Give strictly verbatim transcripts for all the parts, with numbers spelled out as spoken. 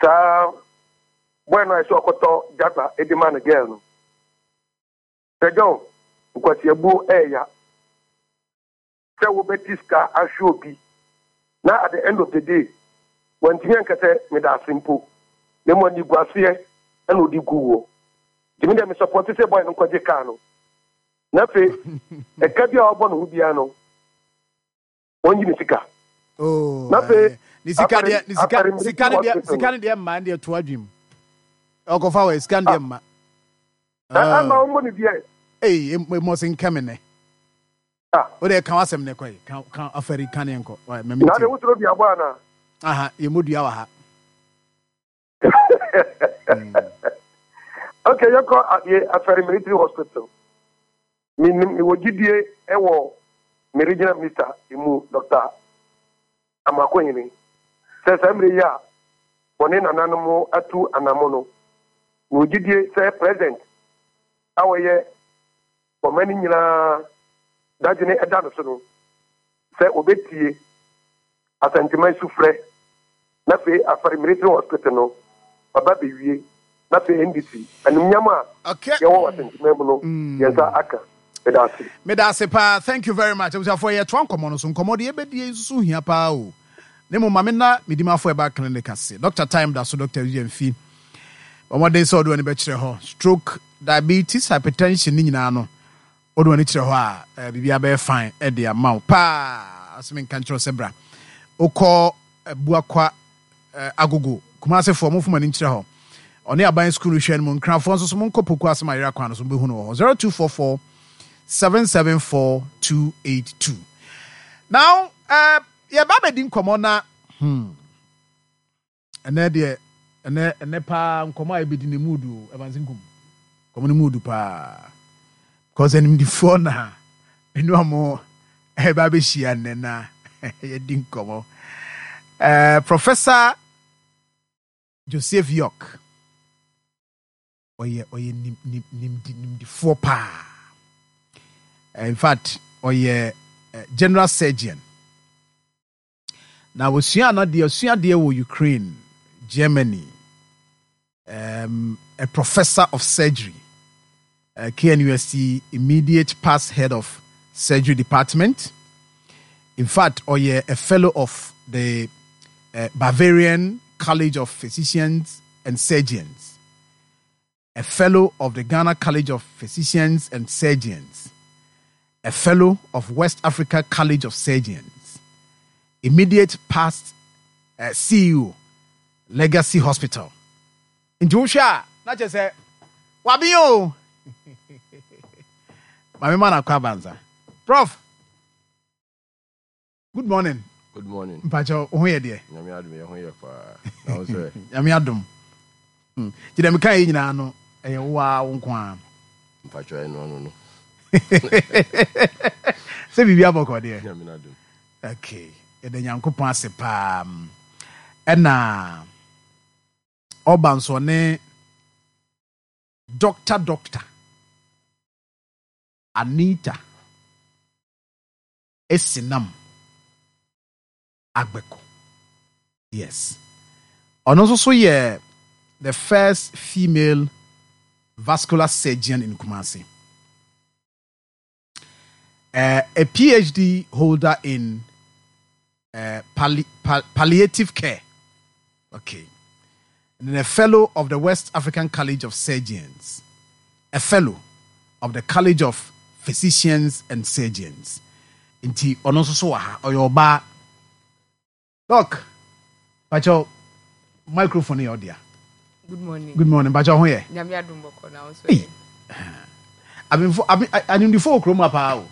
Saa boy no a ɛsɛ ɔkɔtɔ Jaguar de ma no girl no. Sir John, nkwasiabuo ɛɛya sɛ wobɛti sika ahwɛ obi na at the end of the day wantumi anka sɛ meda ase mpo, na mmom aniguaseɛ ɛna ɔde gu wɔ. Nti me deɛ, me support sɛ boy no nkɔgye kaa no, na afei ɛka bi a ɔbɔ ne ho biara no, wɔnyi ne sika. Oh, Na afei, eh, ne sika afɛre- deɛ, ne sika afɛre sika ne deɛ hospital. Sika ne deɛ mma deɛ to adwim ɔkɔfa wɔ sika ne deɛ mma. Ama wɔmmɔ ne biɛ. Ei, mmɔse nkɛme nɛ. Ah. O de ka wasɛm ne kɔe ka ka afɛri ka ne nkɔ. Wai, mɛmi Na de tie. Wosoro bi abɔ anaa? Aha, yɛ mu dua wɔ ha. Okay, yɛkɔ adeɛ Afɛre Military Hospital. Menim mewɔ gyidie ɛwɔ me regional minister mu, Doctor Amoakohene, sɛ saa mmerɛ yi a wɔne nananom atu anamo no, mewɔ gyidie sɛ president a wɔyɛ ɔma no nyinaa dadwene ɛda no so no sɛ wɔbɛtie Asantema sufrɛ, na afei Afɛre Military Hospital no ɔba bɛwie, na afei N D C animnyam a okay yɛwɔ wɔ Asantema mu no, yɛn nsa aka. Meda ase. Meda ase paa, thank you very much. Abusuafoɔ, yɛtoa nkɔmmɔ no so. Nkɔmmɔ deɛ yɛbɛdie nso so hia paa o. Ne mo ma me na medimafo ɛba clinic ase. Doctor time da so, Doctor Yɛmfi ɔmɔden sɛ ɔde w'ani bɛkyerɛ hɔ. Stroke, diabetes, hypertension ne nyinaa no, wode w'ani kyerɛ hɔ a, eh, biribiara bɛyɛ fine ɛde ama wo paa. Asɛm nka nkyerɛ wo sɛ bra wokɔ eh, Buakwa eh, Agogo Kumasefoɔ, momfo ani nkyerɛ hɔ. Ɔne aban sukuu no hwɛ no mu. Nkrafoɔ nso so, monkɔ Poku Asɛm Ayera kwan no so, mobɛhu no wɔ hɔ, zero two four four seven seven four two eight two. Now uh, yɛba bɛdi nkɔmmɔ na hmm, ɛnɛ deɛ, ɛnɛ ɛnɛ paa nkɔmmɔ a yɛbɛdi ne mu du. Ɛbansi nkum nkɔmmɔ no mu du paa because animdifoɔ na ɛnu ɔmo ɛba bɛhyia nnɛ na yɛdi nkɔmmɔ. uh, professor Joseph York, ɔyɛ ɔyɛ nim nim nimdi nimdifoɔ paa. In fact, ɔyɛ uh, general surgeon na wɔsua no deɛ, ɔsua deɛ wɔ Ukraine, Germany, um, a professor of surgery, uh, K N U S T, immediate past head of surgery department. In fact, ɔyɛ a fellow of the uh, Bavarian College of Physicians and Surgeons, a fellow of the Ghana College of Physicians and Surgeons, a fellow of West Africa College of Surgeons, immediate past uh, C E O, Legacy Hospital. Nti wohwɛ a, na kyerɛ sɛ waben o. Maame ma nakɔ abanza. Prof, good morning. Good morning. Mpakyɛ, wo ho yɛ deɛ? Nyame adom, yɛ ho yɛ paa. Na wo sɛ? Nyame adom. Hmm. Nti dɛ meka yɛ nyinaa no, ɛyɛ wo a wo nko a? Mpakyɛ, ɛno ano no. Sɛ biribi abɔkɔ deɛ? Nyame adom. Okay, yɛda Nyankopɔn ase paa. Ɛna ɔba nso ne Doctor Doctor Anita Esinam Agbeko. Yes, ɔno nso so yɛ the first female vascular surgeon in Kumasi, uh, a P H D holder in uh, palli- pal- palliative care. Okay. And then a fellow of the West African College of Surgeons, a fellow of the College of Physicians and Surgeons. Nti ɔno nso so wɔ ha, ɔyɛ ɔbaa. Doc, pakyɛw, microphone yɛ ɔdea. Good morning. Good morning, pakyɛw, ho yɛ? Nyame adom, bɔkɔ. Na wo nso Ei. yɛ? Abemfo abe animdifo wɔ kurom ha paa o.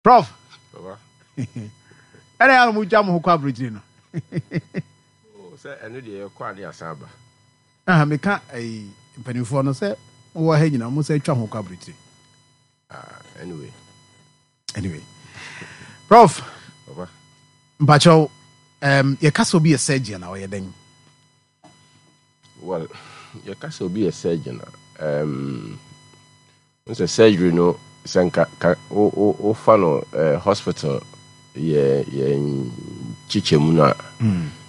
Prof. Baba. Ɛna yɛ a mo gya mo ho kɔ aburokyire no. Oh, sɛ ɛno deɛ, yɛkɔ ade asan aba. Aha, meka ɛyi mpanimfoɔ no sɛ mowɔ ha nyinaa, mo sɛ atwa ho kɔ aburokyire. Ah, anyway. Anyway, Prof. Baba. Mpakyɛw, um, yɛka sɛ obi yɛ surgeon a, ɔyɛ dɛn? Well, yɛka sɛ obi yɛ surgeon a, um, n sɛ surgery no, sɛ nka ka wo- wo- wofa no uh, hospital yɛ yɛn kyekyɛ mu no a,